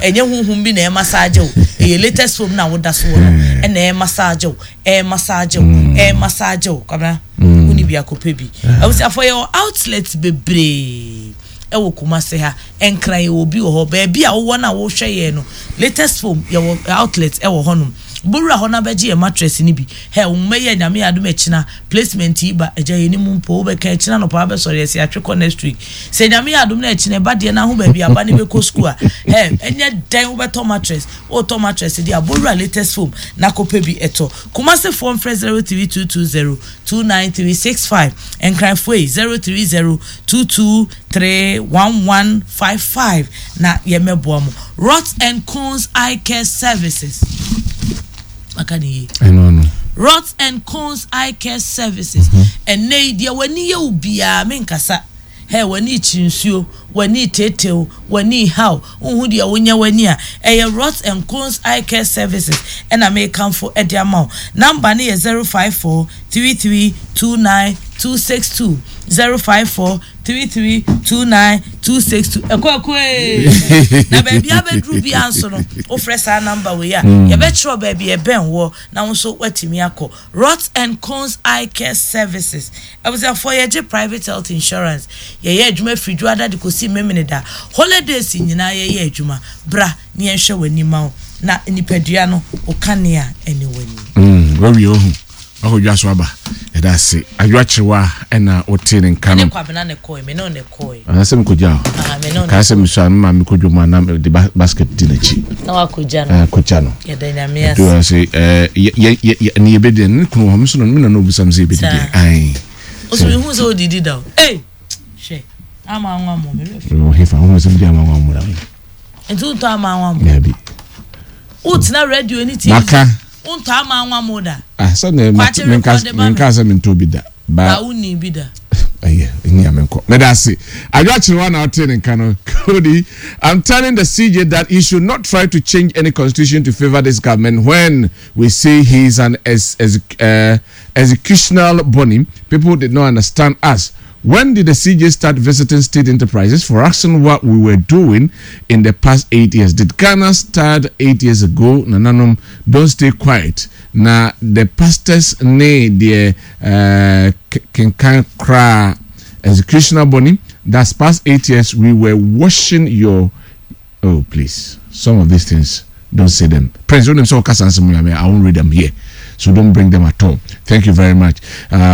Ɛnyɛ honhom bi na ɛmassage wo. Ɛyɛ latest foam no a woda so wɔ no ɛna ɛmassage wo, ɛmassage wo, ɛmassage wo. Kwabena, wonni bi a kɔpɛ bi. Abusuafoɔ yɛwɔ outlets bebree ɛwɔ Kumasi ha. Nkran yɛwɔ bi wɔ hɔ. Baabi a wowɔ no a wohwɛ yɛn no, latest foam yɛwɔ outlet ɛwɔ hɔnom. Bowura hɔ na bɛgye yɛn mattress no bi. Hɛ, wo mma yi a Nyame yɛ adom ɛkyena placement yi ba, agya yɛnim mpo, wobɛka ɛkyena anɔpa wabɛsɔre yɛse yɛatwe kɔ next week. Sɛ Nyame yɛ adom na ɛkyena ɛba deɛ na ho baabi aba no bɛkɔ school a, hɛ, ɛnyɛ dɛn wobɛtɔ mattress. Wotɔ mattress deɛ a, bowura latest foam na kɔpɛ bi tɔ. Kumasi foɔ mfrɛ 03220 29365, Nkran foɔ yi 030 2231155 na yɛmmɛboa mo. Rods and Cones Eye Care Services. Maka ne yie. Ɛno no. Rods and Cones Eye Care Services. Ɛnnɛ yi deɛ w'ani yɛ wo biara menkasa. Hɛ, w'ani rekyi nsuo, w'ani reteetew, w'ani rehaw, wonhu deɛ wonyɛ w'ani a, ɛyɛ Rods and Cones Eye Care Services ɛna merekamfo de ama wo. Number no yɛ 054 33 29 262, 054 33 29 262. Ɛkɔ ɛkɔ ee! Na baabi abɛduru biara nso no, wofrɛ saa number wei a, yɛbɛkyerɛ wo baabi a ɛbɛn woɔ na wo nso woatumi akɔ. Rods and Cones Eye Care Services, Abusuafoɔ yɛgye private health insurance, yɛyɛ adwuma firi Dwoada de kɔsi Memeneda, holidays nyinaa yɛyɛ adwuma, bra na yɛnhwɛ w'ani ma wo na nipadua no wo kanea ne w'ani. Mm, wawie ohu. Wakɔ dwa so aba. Yɛda ase. Adwoa Kyewa ɛna wotee ne nka no. Me ne Kwabena na ɛkɔe, me ne wo na ɛkɔe. Anaasɛ mekɔgya wo? Ah, me ne wo na Kaa sɛ ɛkɔe. mesua no ma mekɔ dwom a na mede basket di n'akyi. Na wakɔgya no. Ah, kɔgya no. Yɛda Nyame ase. Ɛdu hɔ sɛ, eh, yɛ, yɛ, yɛ, yɛ, ne yɛbɛdi ne kunu wɔ hɔ, me nso na me na na ɔbisa me sɛ yɛbɛdi deɛ. Saa. Ae. Wo so mehu sɛ wodidi da o. Ei! Hwɛ, ama anwa mo, me werɛ fi. Wɔ hefa, wohu sɛ medi ama anwa mo da. Nti wontɔ ama anwa mo? Daabi. Wotena radio ne TV. Maka. Wontɔ ama anwa mo da? Ah, sɛ ne Kwakye menka rekɔde ma me. menka sɛ mentɔ bi da. Ba. Ba wonni bi da. Ɛyɛ, ɛni a menkɔ. Meda ase. Adwo Akyerewa na ɔtee ne nka no. Cody, I'm telling the CJ that he should not try to change any constitution to favor this government when we say he is an ex, ex, uh, executional body. People did not understand us. When did the CJ start visiting state enterprises for asking what we were doing in the past 8 years? Did Ghana start 8 years ago? Nananom, don't stay quiet. Na the pastors ne the kenkan kra executioner boni. That's past 8 years we were washing your. Oh, please. Some of these things, don't say them. Prince, don't say I won't read them here. So don't bring them at all. Thank you very much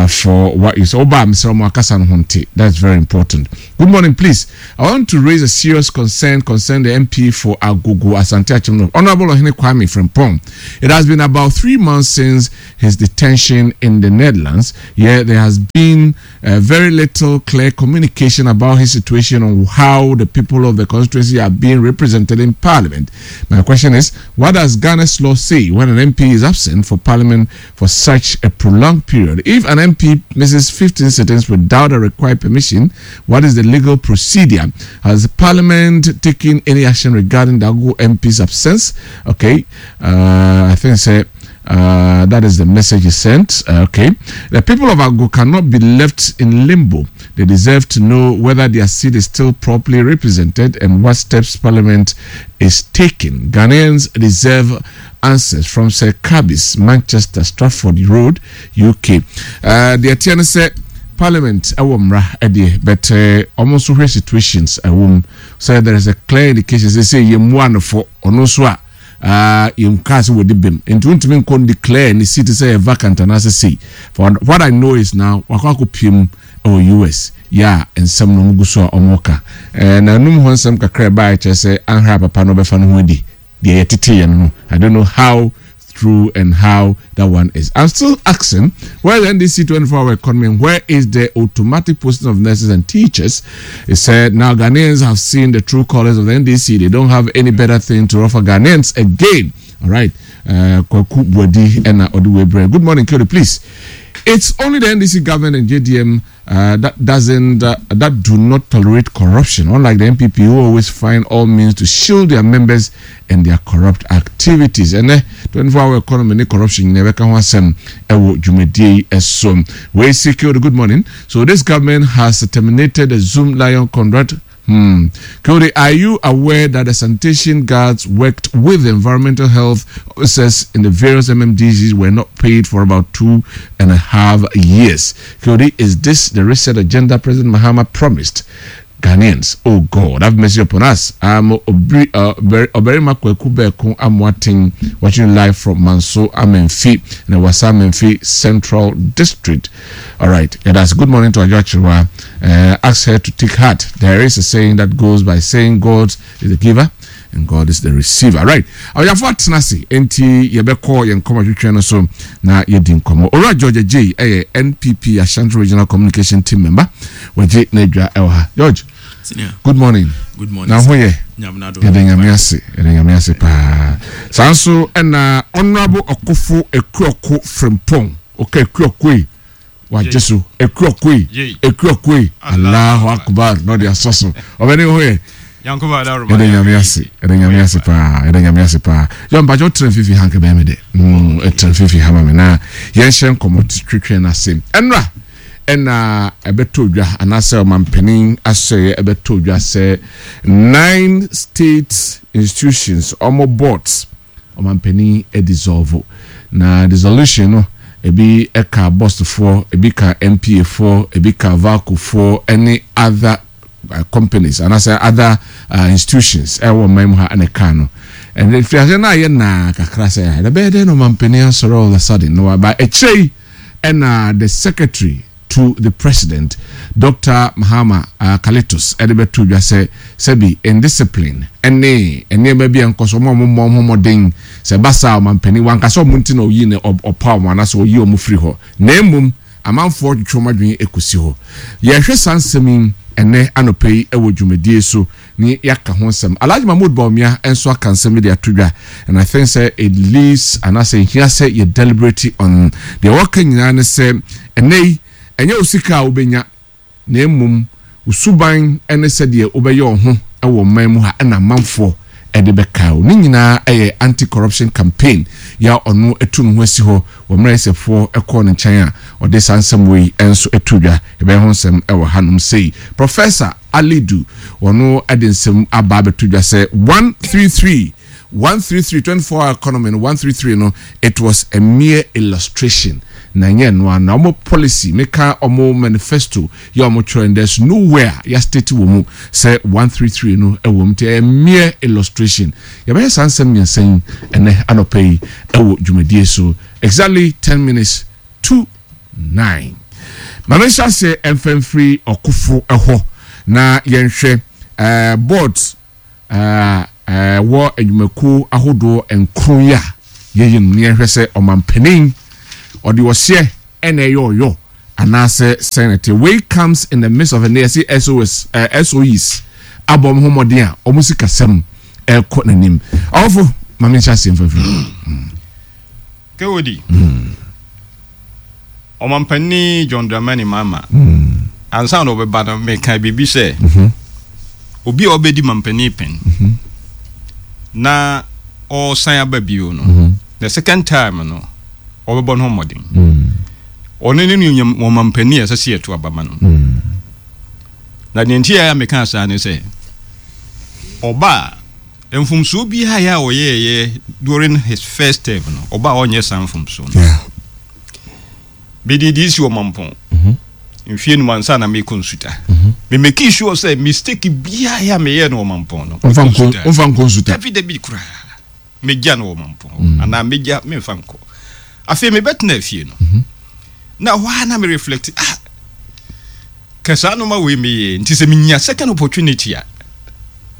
for what you said. Oba, Mr. Mwakasan. That's very important. Good morning, please. I want to raise a serious concern concerning the MP for Agogo Asante Akim, Honorable Ohene Kwame Frimpong. It has been about 3 months since his detention in the Netherlands. Yet there has been very little clear communication about his situation on how the people of the constituency are being represented in Parliament. My question is, what does Ghana's law say when an MP is absent for Parliament for such a prolonged period? If an MP misses 15 sittings without a required permission, what is the legal procedure? Has Parliament taken any action regarding the Agogo MP's absence? Okay, I think say. That is the message he sent. Okay. The people of Agogo cannot be left in limbo. They deserve to know whether their seat is still properly represented and what steps Parliament is taking. Ghanaians deserve answers from Sir Cabis, Manchester, Stratford Road, UK. The attorney said Parliament ɛwɔ mmara ɛdeɛ, but almost hwɛ situations ɛwɔ mu sɛ there is a clear indication sɛ yɛ mu anofo ɔno nso a yɛn kaa sɛ wɔde bɛm nti wontumi nkɔ declare ne seat sɛ yɛ vacant anaasɛ sei. For what I know is now wakɔ akɔ mu ɛwɔ US yɛ a nsɛm no ɔmo gu so a ɔmo ka na anum hɔ nsɛm kakra ɛbaa kyerɛ sɛ anhra papa no ɔbɛfa no ho adi deɛ yɛtete yɛn no. I don't know how true and how that one is. I'm still asking where the NDC 24-hour economy and where is the automatic posting of nurses and teachers? It said now Ghanaians have seen the true colors of the NDC. They don't have any better thing to offer Ghanaians again. All right. Kwaku Bwadi and Oduwebre. Good morning, Kelly. Please. It's only the NDC government and JDM that doesn't that do not tolerate corruption. Unlike the NPP, who always find all means to shield their members and their corrupt activities. And 24-hour economy ne corruption never can asɛm ɛwɔ dwumadie yi ɛso. We secured. Good morning. So this government has terminated the Zoomlion contract. Cody, are you aware that the sanitation guards worked with the environmental health officers in the various MMDCs were not paid for about 2.5 years? Cody, is this the reset agenda President Mahama promised Ghanaians? Oh God, have mercy upon us. I'm Oberima Kweku Beko Amwating, watching live from Manso Amenfi in the Wasa Amenfi Central District. All right, yeah, that's good morning to Ajoachirwa. Ask her to take heart. There is a saying that goes by saying God is the giver and God is the receiver. Right. Awuyafo atena ase nti yɛbɛkɔ yɛn nkɔmɔ twitwi no so na yɛdi nkɔmɔ. Owura George J ɛyɛ NPP Ashanti Regional Communication Team member. Wɔgye n'adwa ɛwɔ ha. George. Senior. Good morning. Good morning. Na ho yɛ? Nyamnado. Yɛde Nyame ase. Yɛde Nyame ase paa. Saa nso ɛna Honourable Ɔkofo Ekuoko Frimpong. Ɔka Ekuoko yi. Wagye so. Ekuoko yi. Yei. Ekuoko yi. Allahu Akbar. Na ɔde asɔ so. Ɔbɛne ho yɛ? Yankuba Adaro. Yɛde Nyame ase, yɛde Nyame ase paa, yɛde Nyame ase paa. Yɛ mpakyɛ wotena fifi ha nka bɛyɛ me dɛ ɛtena fifi ha ma me na yɛnhyɛ nkɔmmɔ twetwe no ase. Ɛnora ɛna ɛbɛtɔ dwa anaasɛ ɔmampanin asɔeɛ ɛbɛtɔ dwa sɛ nine state institutions ɔmo boards ɔmampanin dissolve, na dissolution no ebi ɛka BOST foɔ, ebi ka NPA foɔ, ebi ka VALCO foɔ ɛne other companies anaasɛ other institutions ɛwɔ ɔman mu ha ɛna ɛka no. Ɛnna fiase no ayɛ naa kakra sɛ ɛna bɛyɛ dɛ na ɔmampanin asɔre all of a sudden na waba akyire yi. Ɛna the secretary to the president, Dr Mahama Kalitus, ɛde bɛto dwa sɛ sɛbi indiscipline ɛne nneɛma bi a nkɔ so ɔmo a ɔmo mmɔ ɔmo mmɔden sɛ basa ɔmampanin wankasa ɔmo nti na ɔyi ne ɔpa ɔmo anaasɛ ɔyi ɔmo firi hɔ, na emom amanfoɔ twitwi ɔmo adwene ekosi hɔ. Yɛhwɛ saa nsɛm yi ɛnɛ anɔpɛ yi ɛwɔ dwumadie so ne yɛaka ho nsɛm. Alhaji Mahmood Bawumia nso aka nsɛm bi de ato dwa, and I think sɛ it leaves anaasɛ nhia sɛ yɛ deliberate on deɛ wɔka nyinaa ne sɛ ɛnɛ yi ɛnyɛ wo sika a wobɛnya na mmom wo suban ne sɛdeɛ wobɛyɛ wo ho wɔ ɔman mu ha ɛna amanfoɔ de bɛkae wo. Ne nyinaa yɛ anti-corruption campaign yɛ a ɔno atu ne ho asi hɔ wɔ mmerɛ Ɛsɛfoɔ kɔɔ ne nkyɛn a ɔde saa nsɛm wei nso too dwa. Yɛbɛyɛ ho nsɛm wɔ hanom sei. Professor Alidu ɔno de nsɛm aba abɛto dwa sɛ 133 133 24 hour economy no 133 no it was a mere illustration na ɛnyɛ ɛno ara na wɔn policy meka wɔn manifesto yɛ wɔn twerɛ no there's nowhere ya state wɔ mu sɛ 133 no ɛwɔ mu nti ɛyɛ mere illustration. Yɛbɛyɛ saa nsɛm mmiɛnsa yi ɛnɛ anɔpa yi ɛwɔ dwumadie so exactly 10 minutes to 9. Ma menhyɛ aseɛ ɛmfa mfiri ɔkofo ɛhɔ na yɛnhwɛ ɛɛ boards a ɛwɔ nnwumakuo ahodoɔ nkron yi a yɛyi no na yɛnhwɛ sɛ ɔmampanin ɔde ɔseɛ ɛna ɛyɛ ɔyɔ anaasɛ sɛn na ɛteɛ. Wei comes in the midst of ɛnɛ yɛse SOS, eh, SOEs abɔ wɔn ho mmɔden a wɔn sikasɛm ɛrekɔ n'anim. Ɔwofo, ma menhyɛ aseɛ mfa mfiri. Kewodi, Ɔmampanin John Dramani Mahama, ansa na ɔbɛba no, mekaa biribi sɛ, obi a ɔbɛdi mampanin pɛn na ɔresan aba bio no, the second time no, ɔbɛbɔ ne ho mmɔden. Ɔno ne ne ɔmampanin a ɛsɛ sɛ yɛto aba ma no. Na deɛ nti a mekaa saa ne sɛ, ɔba a, Mfomsoɔ biara a ɔyɛɛyɛ during his first term no, ɔba a ɔnyɛ saa mfomsoɔ no. Mede DC wɔ Mampɔn mhm. mfie num ansa na mekɔ Nsuta. Mhm. Me make sure sɛ mistake biara a meyɛɛ no wɔ Mampɔn no, womfa nkɔ Nsuta. Dabi dabi koraa. Megya no wɔ Mampɔn mm. anaa megya memfa nkɔ. Afei mebɛtena afie no. Mhm. Na hɔ a na me reflect ah Ka saa nnoɔma wei meyɛɛ nti sɛ menya second opportunity a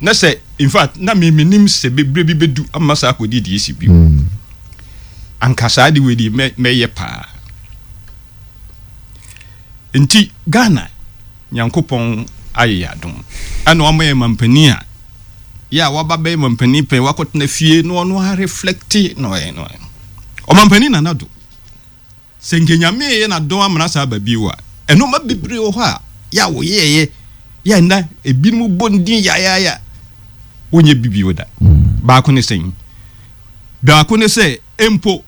na sɛ in fact na me menim sɛ berɛ bi bɛdu ama saa akɔdi deɛ ɛsi bio mm. Anka saa de wei deɛ mɛyɛ paa. Nti Ghana Nyankopɔn ayɛ yɛ adom ɛna wama yɛ mampanin a yɛ a waba bɛyɛ mampanin pɛn wakɔtena fie na ɔno a reflecte na ɔyɛ no ɔmampanin Nana Addo. Sɛ nka Nyame reyɛ n'adom amena saa aba bio a, nnoɔma bebree wɔ hɔ a yɛ a wɔyɛɛyɛ yɛ a nna ebinom bɔ ne din yayaaya wɔnyɛ bi bio da. Baako ne sɛn? Baako ne sɛ mpo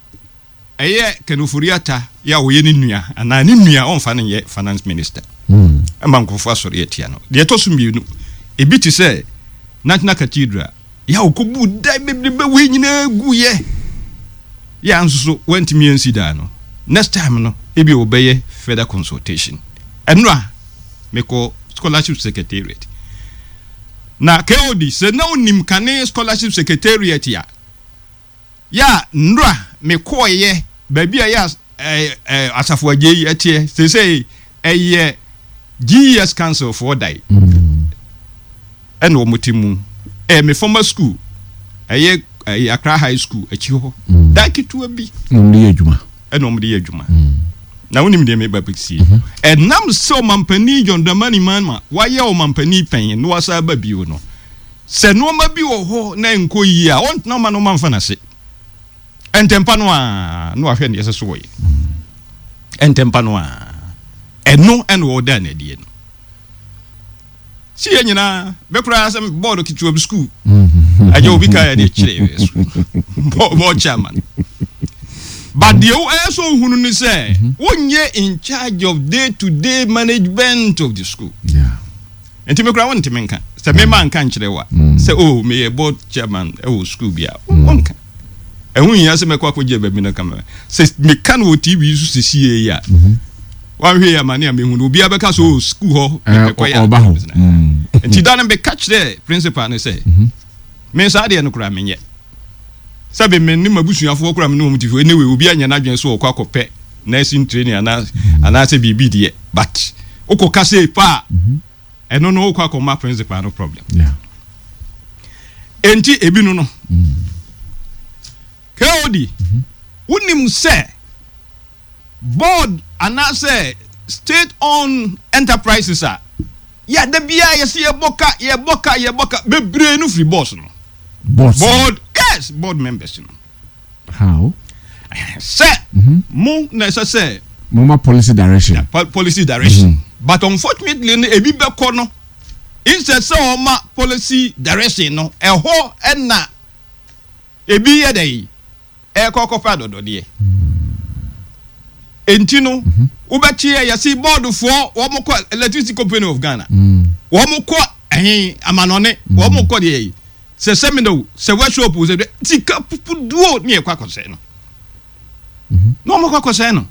ɛyɛ Ken Ofori-Atta yɛ a ɔyɛ ne nua anaa ne nua ɔmfa no nyɛ finance minister ma nkurɔfoɔ asɔre atia no. Deɛ ɛtɔ so mmienu, ebi te sɛ National Cathedral Yɛ a ɔkɔbuu dan bebrebe wei nyinaa guiɛ. Yɛ a nso so wantumi ansi dan no. Next time no, ebia wɔbɛyɛ further consultation. Ɛnora, mekɔ scholarship secretariat. Na KOD, sɛ na wonim kane scholarship secretariat a, Yɛ a nnora mekɔeɛ baabi a ɛyɛ a Asafo Agyei teɛ, seesei ɛyɛ GES Council foɔ dan ɛna wɔn te mu. Ɛyɛ me former school, ɛyɛ ɛyɛ Accra High School akyi hɔ, dan ketewa bi. Na wɔn de yɛ adwuma. Ɛna wɔn de yɛ adwuma. Na wonim deɛ meba bɛsie. Ɛnam sɛ ɔmampanin John Dramani Mahama wayɛ ɔmampanin pɛn na wasan aba bio no, Sɛ nnoɔma bi wɔ hɔ na ɛnkɔ yie a, ɔntena mma nnoɔma mfa n'ase. Ntɛmpa no ara na wahwɛ deɛ ɛsɛ sɛ ɔyɛ. Ntɛmpa no ara. Ɛno ɛna ɔda no adie no. Si yɛ nyinaa, bɛ koraa sɛ bɔɔdo ketewa bi sukuu. Agya obi ka yɛ de kyerɛ bɔɔl chairman. But deɛ ɛyɛ sɛ ohunu ne sɛ, wonyɛ in charge of day to day management of the school. Yeah. Nti me koraa wonte me nka. Sɛ me ma nka nkyerɛ wa mm. sɛ oh meyɛ board chairman ɛwɔ school bi a mm. wonka. Ɛho hia sɛ mɛkɔ akɔgye baabi no kama. Sɛ meka no wɔ TV so sɛsie yi a mm-hmm. wanhwɛ yi amane a mehu no obiara bɛka sɛ oh school hɔ eh, mepɛ kɔyɛ ɔba hɔ. Mm. Nti da no meka kyerɛ principal no sɛ mm-hmm. me saa deɛ no koraa menyɛ. Sɛbe me ne m'abusuafoɔ koraa me ne wɔn te fie anyway obi anyɛ n'adwene sɛ ɔkɔ akɔpɛ nursing training anaa anaasɛ biribi deɛ but wokɔ ka sei pa a ɛno no wokɔ akɔma principal no problem enti ebi no no KOD wonim sɛ board anaasɛ state owned enterprises a yɛ da biara yɛsɛ yɛbɔ ka yɛbɔ ka yɛbɔ ka bebree no firi boss no Boss. Board yes board members no. How? Sɛ mo na ɛsɛ sɛ. Mo ma policy direction. Policy direction. Mm -hmm. But unfortunately no ebi bɛkɔ no. Instead sɛ ɔma policy direction no, ɛhɔ na ebi yɛ dɛn ɛrekɔ akɔfa adɔdɔdeɛ. Enti no, wobɛte ɛ yɛse bɔɔdofoɔ wɔn kɔ Electricity Company of Ghana, wɔn kɔ ɛhe amanɔne, wɔn kɔ deɛ yi, sɛ seminar o, sɛ workshop o, sɛ sika pupuduo ne ɛkɔ akɔsɛe no. Na wɔn kɔ akɔsɛe no.